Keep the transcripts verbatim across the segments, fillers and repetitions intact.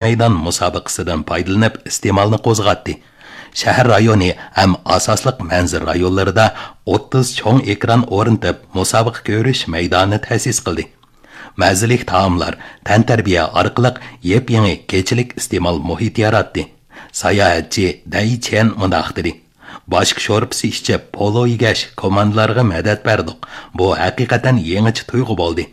مەيدان مۇسابىقىسىدىن پايدىلىنىپ، ئىستېمالنى قوزغاتتى. شەھەر رايونى ھەم ئاساسلىق مەنزىرە رايونلىرىدا ئوتتۇز چوڭ ئېكران ئورنىتىپ، مۇسابىقە كۆرۈش مەيدانى تەسىس قىلدى. مەززىلىك تائاملار، تەنتەربىيە ئارقىلىق يېپيېڭى كېچىلىك ئىستېمال مۇھىتى ياراتتى. ساياھەتچى دەي چيەن مۇنداق دېدى: باشكا شورپىسى ئىچىپ، پولۇ يېگەچ، كوماندىلارغا مەدەت بەردۇق. بۇ ھەقىقەتەن يېڭىچە تۇيغۇ بولدى.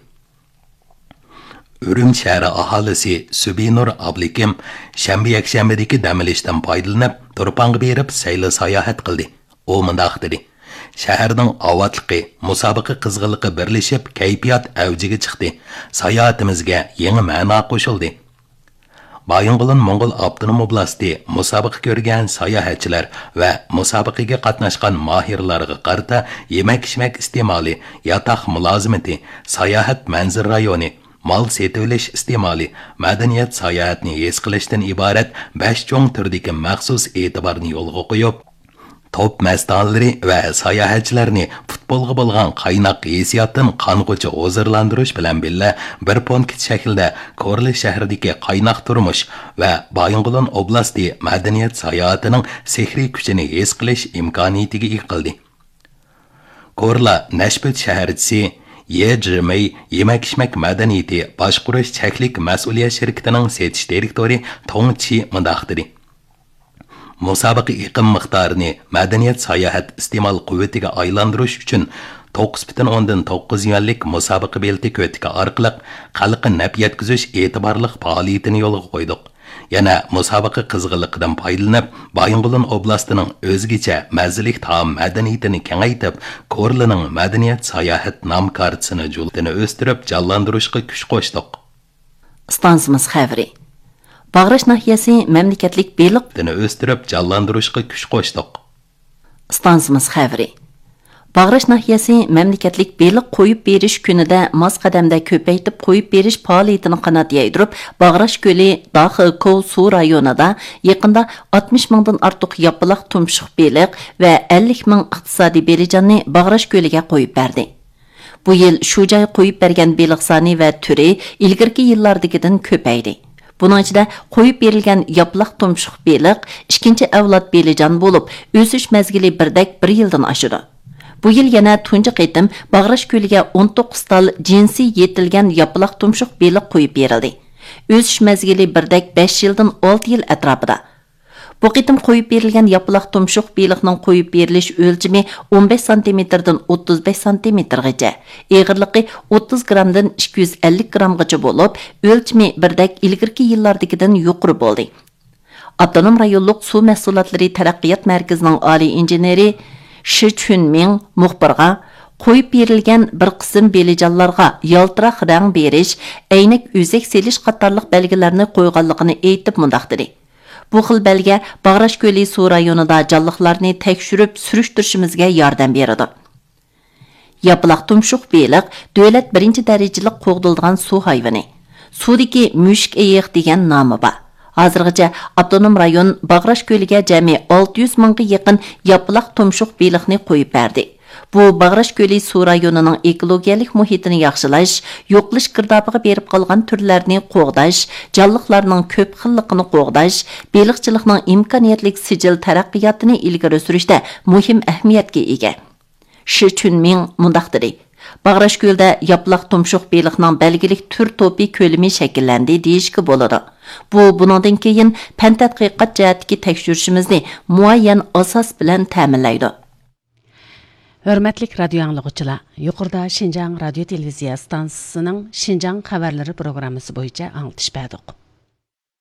ئۈرۈمچى شەھىرى ئاھالىسى سۈبىنۇر ئابلىكىم شەنبە، يەكشەنبىدىكى دەم ئېلىشتىن پايدىلىنىپ، تۇرپانغا بېرىپ سەيلە ساياھەت قىلدى. ئۇ مۇنداق دېدى: شەھەرنىڭ ئاۋاتلىقى، مۇسابىقە قىزغىنلىقى بىرلىشىپ، كەيپىيات ئەۋجىگە چىقتى. ساياھىتىمىزگە يېڭى مەنا قوشۇلدى. بايىنغولىن موڭغۇل ئاپتونوم ئوبلاستى مۇسابىقە كۆرگەن ساياھەتچىلەر ۋە مۇسابىقىگە قاتناشقان ماھىرلارغا قارىتا يېمەك-ئىچمەك ئىستېمالى، ياتاق مۇلازىمىتى، ساياھەت مەنزىرە رايونى، مال سېتىۋېلىش ئىستېمالى، مەدەنىيەت ساياھەتنى ھېس قىلىشتىن ئىبارەت بەش چوڭ تۈردىكى مەخسۇس ئېتىبارنى يولغا قويۇپ، توپ مەستانىلىرى ۋە ساياھەتچىلەرنى پۇتبولغا بولغان قايناق ھېسسىياتتىن قانغۇچە ھۇزۇرلاندۇرۇش بىلەن بىللە، بىر پونكىت شەكلىدە كورلا شەھىرىدىكى قايناق تۇرمۇش ۋە بايىنغولىن ئوبلاستى مەدەنىيەت ساياھىتىنىڭ سېھرىي كۈچىنى ھېس قىلىش ئىمكانىيىتىگە ئىگە قىلدى. كورلا نەشپۈت شەھەرچىسى يې جىمېي يېمەك-ئىچمەك مەدەنىيىتى باشقۇرۇش چەكلىك مەسئۇلىيەت شىركىتىنىڭ سېتىش دىرېكتورى توڭ چى مۇنداق دېدى: مۇسابىقە ئېقىم مىقدارىنى مەدەنىيەت ساياھەت ئىستېمال قۇۋۋىتىگە ئايلاندۇرۇش ئۈچۈن توققۇز پۈتۈن ئوندىن توققۇز يۈەنلىك مۇسابىقە بېلىتى كۆتىكى ئارقىلىق خەلققە نەپ يەتكۈزۈش ئېتىبارلىق پائالىيىتىنى يولغا قويدۇق. يەنە مۇسابىقە قىزغىنلىقىدىن پايدىلىنىپ، بايىنغولىن ئوبلاستىنىڭ ئۆزگىچە مەززىلىك تائام مەدەنىيىتىنى كېڭەيتىپ، كورلىنىڭ مەدەنىيەت ساياھەت نام كارتىسىنى جۇلتىنى ئۆستۈرۈپ جانلاندۇرۇشقا كۈچ قوشتۇق. ئىستانسىمىز خەۋىرى. باغراش ناھىيەسى مەملىكەتلىك بېلىق دىنى ئۆستۈرۈپ جانلاندۇرۇشقا كۈچ قوشتۇق. ئىستانسىمىز خەۋىرى. باغراش ناھىيەسى مەملىكەتلىك بېلىق قويۇپ بېرىش كۈنىدە ماس قەدەمدە كۆپەيتىپ قويۇپ بېرىش پائالىيىتىنى قانات يايدۇرۇپ، باغراش كۆلى داخې كوۋ سۇ رايونىدا يېقىندا ئاتمىش مىڭدىن ئارتۇق ياپىلاق تۇمشۇق بېلىق ۋە ئەللىك مىڭ ئىقتىسادىي بېلىجاننى باغراش كۆلىگە قويۇپ بەردى. بۇ يىل شۇ جاي قويۇپ بەرگەن بېلىق سانى ۋە تۈرى ئىلگىرىكى يىللاردىكىدىن كۆپەيدى. بۇنىڭ ئىچىدە قويۇپ بېرىلگەن ياپىلاق تۇمشۇق بېلىق ئىككىنچى ئەۋلاد بېلىجان بولۇپ، ئۆسۈش مەزگىلى بىردەك بىر يىلدىن ئاشىدۇ. بۇ يىل يەنە تۇنجى قېتىم باغراش كۆلىگە ئون توققۇز تال جىنسى يېتىلگەن ياپىلاق تۇمشۇق بېلىق قويۇپ بېرىلدى. ئۆسۈش مەزگىلى بىردەك بەش يىلدىن ئالتە يىل ئەتراپىدا. بۇ قېتىم قويۇپ بېرىلگەن ياپىلاق تۇمشۇق بېلىقنىڭ قويۇپ بېرىلىش ئۆلچىمى ئون بەش سانتىمېتىردىن ئوتتۇز بەش سانتىمېتىرغىچە، ئېغىرلىقى ئوتتۇز گرامدىن ئىككى يۈز ئەللىك گرامغىچە بولۇپ، ئۆلچىمى بىردەك ئىلگىرىكى يىللاردىكىدىن يۇقىرى بولدى. ئاپتونوم رايونلۇق سۇ مەھسۇلاتلىرى تەرەققىيات مەركىزىنىڭ ئالىي ئىنژېنېرى شى چۈنمىڭ مۇخبىرغا، قويۇپ بېرىلگەن بىر قىسىم بېلىجانلارغا يالتىراق رەڭ بېرىش، ئەينەك ئۆزەك سېلىش قاتارلىق بەلگىلەرنى قويغانلىقىنى ئېيتىپ مۇنداق دېدى: بۇ خىل بەلگە باغراش كۆلى سۇ رايونىدا جانلىقلارنى تەكشۈرۈپ سۈرۈشتۈرۈشىمىزگە ياردەم بېرىدۇ. ياپىلاق تۇمشۇق بېلىق دۆلەت بىرىنچى دەرىجىلىك قوغدىلىدىغان سۇ ھايۋىنى. سۇدىكى مۈشۈك ئېيىق دېگەن نامى بار. ھازىرغىچە ئاپتونوم رايون باغراش كۆلىگە جەمئىي ئالتە يۈز مىڭغا يېقىن ياپىلاق تۇمشۇق بېلىقنى قويۇپ بەردى. بۇ باغراش كۆلى سۇ رايونىنىڭ ئېكولوگىيەلىك مۇھىتىنى ياخشىلاش، يوقىلىش گىردابىغا بېرىپ قالغان تۈرلەرنى قوغداش، جانلىقلارنىڭ كۆپ خىللىقىنى قوغداش، بېلىقچىلىقنىڭ ئىمكانىيەتلىك سىجىل تەرەققىياتىنى ئىلگىرى سۈرۈشتە مۇھىم ئەھمىيەتكە ئىگە. شى چۈنمىڭ مۇنداق دېدى: باغراش كۆلىدە ياپىلاق تۇمشۇق بېلىقنىڭ بەلگىلىك تۈر توپى كۆلىمى شەكىللەندى دېيىشكە بولىدۇ. بۇ بۇنىڭدىن كېيىن پەن تەتقىقات جەھەتتىكى تەكشۈرۈشىمىزنى مۇئەييەن ئاساس بىلەن تەمىنلەيدۇ. ھۆرمەتلىك رادىيو ئاڭلىغۇچىلار، يۇقىرىدا شىنجاڭ رادىيو تېلېۋىزىيە ئىستانسىسىنىڭ شىنجاڭ خەۋەرلىرى پروگراممىسى بويىچە ئاڭلىتىش بەردۇق.